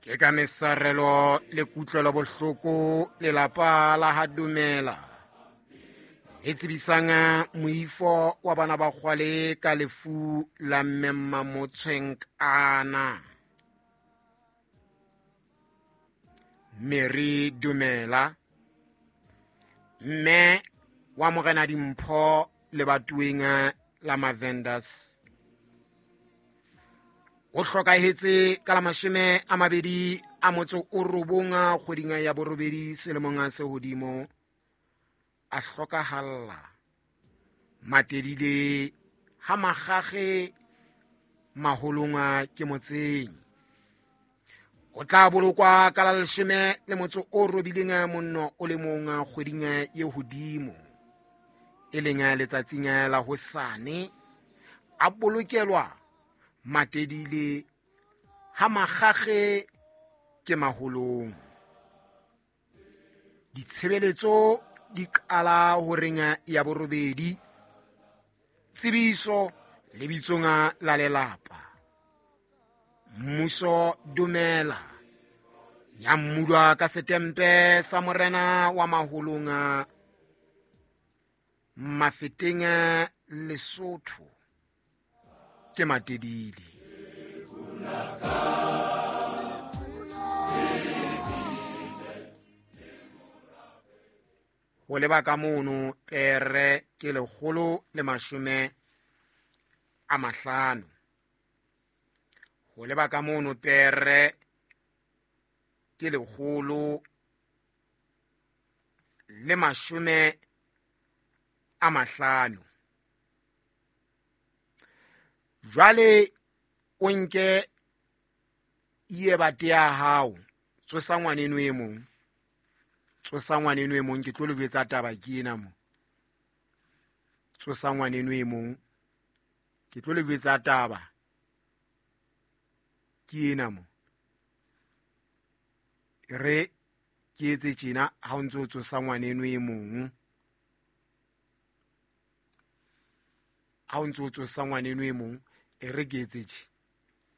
Ke ka mesarelo le kutlwelo bohloko lelapa la ha Dumela le tsebisang moifo wa bana ba kgwale ka lefu la mme Mmamotshwenkana. Mary Dumela, mme wa Morena Dimpho lebatoeng la Mavenders, o hlokahetse ka la 29 kgweding ya borobedi selemong se hodimo, a hlokahalla Matedile ha Magage maholong ke motseng. O tla bolokwa ka la 18 kgweding ye hodimo, e leng letsatsing la hosane, a bolokelwa Matedile ha Magage ke maholong. Ditshebeletso di qala horeng ya borobedi. Tsebiso lebitsong la lelapa. Mmuso Dumela ya mmulwa ka setempe sa morena wa maholong Mafeteng Lesotho ke Matedile. Ho leba ka mono pere ke 150. Ho leba ka mono pere ke 150. Jwale o nke iye bate ya hao, tsosa ngwaneno e mong, tsosa ngwaneno e mong, ke tlo le jwetsa taba ke ena mo. Tsosa ngwaneno e mong, ke tlo le jwetsa taba ke ena mo. Re ke etse tjena ha o ntse o tsosa ngwaneno e mong, ha o ntse o tsosa ngwaneno e mong, e re ke etse tje.